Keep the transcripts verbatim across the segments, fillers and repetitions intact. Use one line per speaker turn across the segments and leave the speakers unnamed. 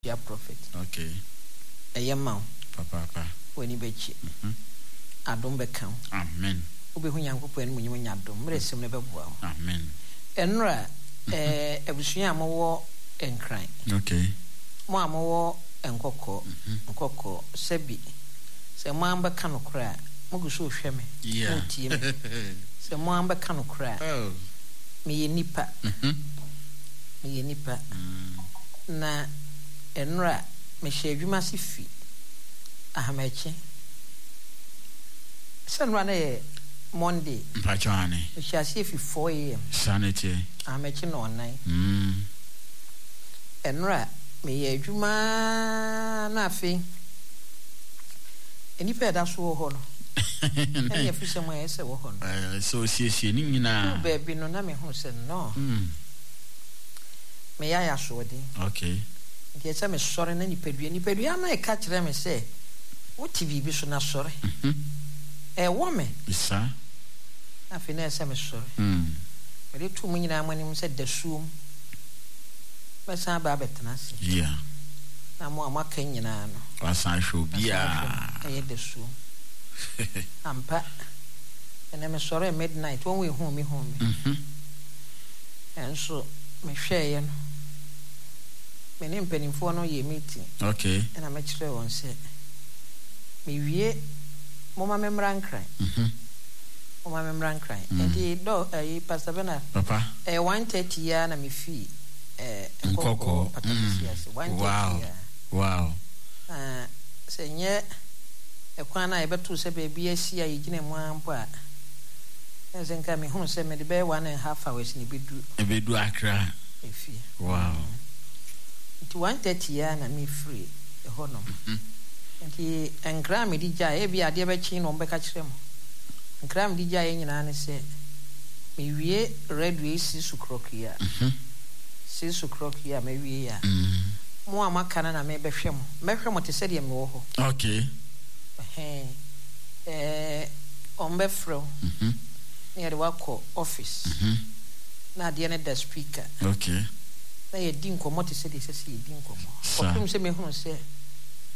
Tua prophet.
Okay.
Ɛyɛ ma wo.
Papaapa.
W'ani bɛkye.
Mhm.
Adom bɛka wo.
Amen.
Wobɛhu Nyankopɔn animuonyam anya adom. Mmerɛ sɛm no bɛboa wo.
Amen.
Ɛnora, eh, abusua a mowɔ Nkran.
Okay.
Mo a mowɔ Nkɔkɔɔ, Nkɔkɔɔ, sɛbi, sɛ mo ara mobɛka nokorɛ a, mogu so rehwɛ me,
Yeah.
moretie me. Sɛ mo ara mobɛka nokorɛ a,
Oh.
meyɛ nipa.
Mhm.
Meyɛ nipa. Na ɛnora, mehyɛ adwuma ase fi Ahamakye. Sɛ nnora na yɛ Monday.
Mpakyɛw ane.
Mehyɛ aseɛ fi four a.m.
Saa na ɛteɛ.
Ahamakye nnɔnnan.
Mm.
Ɛnora, meyɛ adwuma ara na afei nnipa a ɛda so wɔ hɔ no, ɛne afisɛm a ɛyɛ sɛ wɔ hɔ no.
Ɛɛ, sɛ osiesie ne nyinaa.
Duu baabi no, na mehu sɛ no.
Mm.
Meyɛ ayɛ asoɔden.
Okay.
Nti ɛsɛ sɛ mesɔre na nipadua nipadua no reka kyerɛ me sɛ wote biribi so na sɔre.
Mhm.
Ɛwɔ me.
Saa.
Na afei na ɛsɛ sɛ mesɔre.
Mm.
Mede to mo nyinaa mo anim sɛ dasuom mɛsan aba abɛtena ase.
Yeah.
Na mo a moaka nyinaa no.
Wasan ahwɛ
Masan ahwɛ
obiara.
mo. Ɛyɛ dasuom. Ampa. Ɛnɛ mesɔree midnight, wɔn a ehuu me huu me.
Mhm.
Nanso mehwɛeɛ no, me ne mpanimfoɔ no yɛɛ meeting.
Okay.
Ɛna mekyerɛɛ wɔn sɛ, mewie, momma memmra Nkran.
Mhm.
Momma memmra Nkran.
Mm.
Nti dɔ ɛyi Pastor Bernard.
Papa.
Ɛyɛ one thirty yi ara na mefii ɛɛ Nkɔkɔɔ
Nkɔkɔɔ.
Patakɛse
Mm.
ase. One thirty
Wow.
yi ara.
Wow.
Na sɛ nyɛ ɛkwan no a yɛbɛtoo sɛ baabi asi a yɛgyina mu ara mpo a, na sɛ nka mehunu sɛ mede bɛyɛ one and half hours na ɛbɛduru.
Ɛbɛdu Accra.
Efie.
Wow.
Mm. Nti one thirty yi ara na mefiri ɛhɔnom.
Mhm.
Nti nkra a mede gyaeɛ, ebi adeɛ bɛkye na wɔbɛka kyerɛ mo. Nkra a mede gyaeɛ nyinaa ne sɛ, mewie radio yi six o'clock yi a,
Mhm.
six o'clock yi a mawie yi a,
Mm.
mo a moaka no na mebɛhwɛ mo. Mɛhwɛ mo te sɛ deɛ mewɔ hɔ.
Okay.
Ɛhɛn. Ɛɛ, wɔbɛfrɛ wo
Mhm.
na yɛde wo akɔ office.
Mhm.
Na adeɛ no da speaker.
Okay.
Na yɛdi nkɔmmɔ te sɛ deɛ ɛsɛ sɛ yɛdi nkɔmmɔ.
Saa.
Kɔpem sɛ mehunu sɛ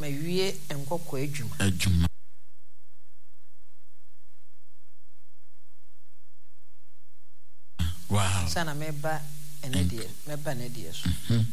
mawie nkɔkɔɔ adwuma.
Adwuma. Wow.
Ansa na mɛba ɛnɛ deɛ, mɛba ɛnɛ deɛ so.
Mhm.